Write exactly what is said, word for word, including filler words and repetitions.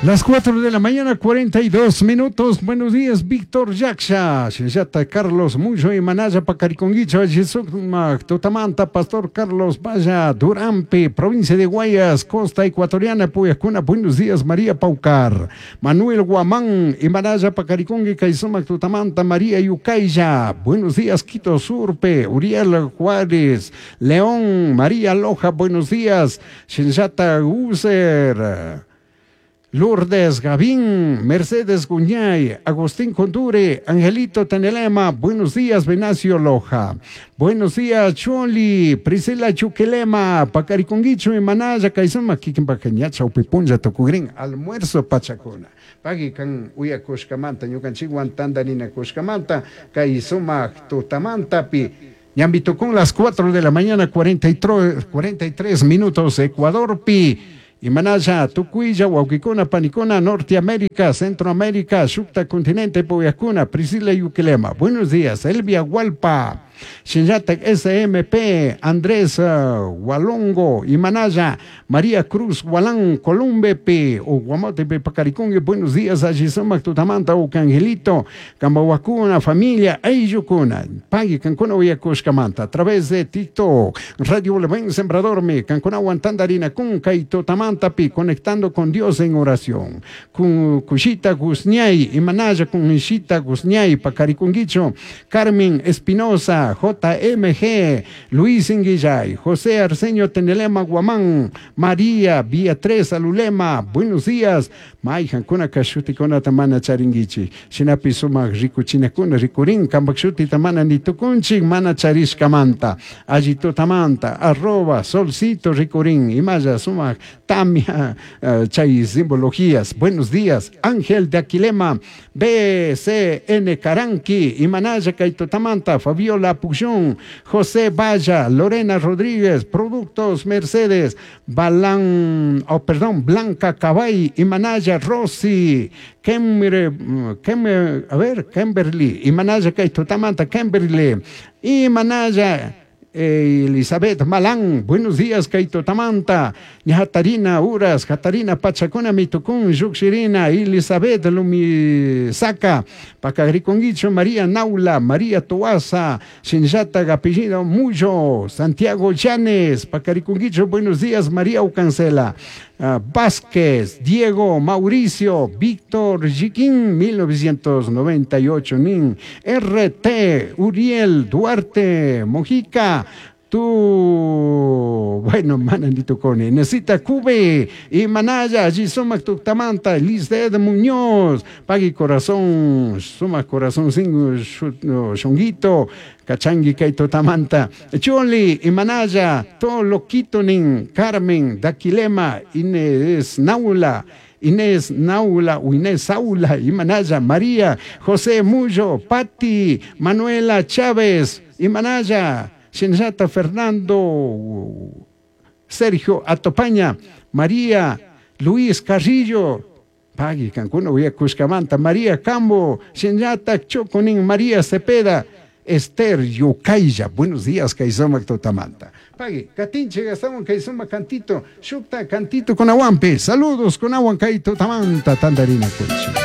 Las cuatro de la mañana, cuarenta y dos minutos. Buenos días, Víctor Yaksha. Shinllata Carlos Muyo y Manaya Pacariconguicho, Tutamanta, Pastor Carlos Vaya, Durampe, provincia de Guayas, Costa Ecuatoriana, Puyacuna. Buenos días, María Paucar. Manuel Guamán y Manaya Pacaricongui, Kaisumac Tutamanta, María Yucaya. Buenos días, Quito Surpe, Uriel Juárez, León, María Loja, buenos días. Shinllata User. Lourdes Gavín, Mercedes Guñay, Agustín Condure, Angelito Tenelema, buenos días, Venacio Loja. Buenos días, Choli, Priscila Chuquelema, Pacariconguicho y Manaya, Kaisuma, Kikin Chaupipunja, Tucugrin, almuerzo pachacuna. Pagui kan uyakushkamanta, ñukanchikwan tandarinakushkamanta, kay sumak tutamantapi. Ñambi tukun las cuatro de la mañana, cuarenta y tres, cuarenta y tres minutos, Ecuador pi. Imanalla, Tucuilla, Huauquicuna, Panicuna, Norteamérica, Centroamérica, Shukta Continente, Poyacuna, Priscila Yuquilema. Buenos días, Elvia Hualpa, Shinyatek S M P, Andrés uh, Walongo, Imanaya, María Cruz Gualán, Columbe P, o Guamote P, Pacaricungue. Buenos días, Allisumac Tutamanta, Ucangelito, Cambahuacuna, familia, Ayucuna, Pagui, Cancuna, Uyacushcamanta, a través de TikTok, Radio Buen Sembrador, Me, Cancuna, Tandarina, Cunca y Tutamanta, Pi, conectando con Dios en oración. Con Cushita Guzñay, Imanaya, con Ishita Guzñay, Pacaricunguicho, Carmen Espinosa, J M G, Luis Inguillay, José Arsenio Tenelema Guamán, María Beatriz Alulema, buenos días. Maijancuna shuticunata mana charinguichi. Shinapi sumak rikuchinakuna rikurin, kampak shutita mana nitukunchik, mana charishkamanta. Alli tutamanta, arroba, solcito rikurin, imaya sumak tamia, uh, chay simbologías. Buenos días, Ángel de Aquilema, B C N Caranqui, Imanaya Kaitotamanta, Fabiola Puxón, José Valla, Lorena Rodríguez, Productos Mercedes, Balán, oh, perdón, Blanca Cabay, Imanaya Rossi, Kembre, Kembre, a ver, Kimberly, Imanaya Kaitotamanta, Kimberly, Imanaya Elizabeth Malán, buenos días, Kaito Tamanta, Hatarina Uras, Hatarina Pachacuna Mitucún, Yuxirina, Elizabeth Lumisaka, Pacagriconguicho, María Naula, María Toaza, Shinjata Gapillido Muyo, Santiago Llanes, Pacariconguicho, buenos días, María Ucancela, uh, Vázquez, Diego, Mauricio, Víctor Yiquín, mil novecientos noventa y ocho, Nin, R T, Uriel, Duarte, Mojica, tu, bueno, manandito cone, necesita Cube, y Manaya, Gisoma Tuctamanta, Lisbeth Muñoz, Pagui Corazón, Suma Corazón Sin Shonguito, Cachangui Kaito Tamanta, Choli, y Manaya, todo loquito nin, Carmen, Daquilema, Inés Naula, Inés Naula, o Inés Aula, Imanaya, María, José Muyo, Patti, Manuela Chávez, Imanaya, Shinjata Fernando, Sergio Atopaña, María Luis Carrillo, Pagui Cancún, Cuscamanta, María Cambo, Shinjata Choconin, María Cepeda, Esther Yucaya. Buenos días, Kaisoma Totamanta. Pagui, Katinche, Gastón, Kaisoma Cantito, Shukta Cantito con Aguampe. Saludos con Aguancaito Tamanta, Tandarina Cuchi.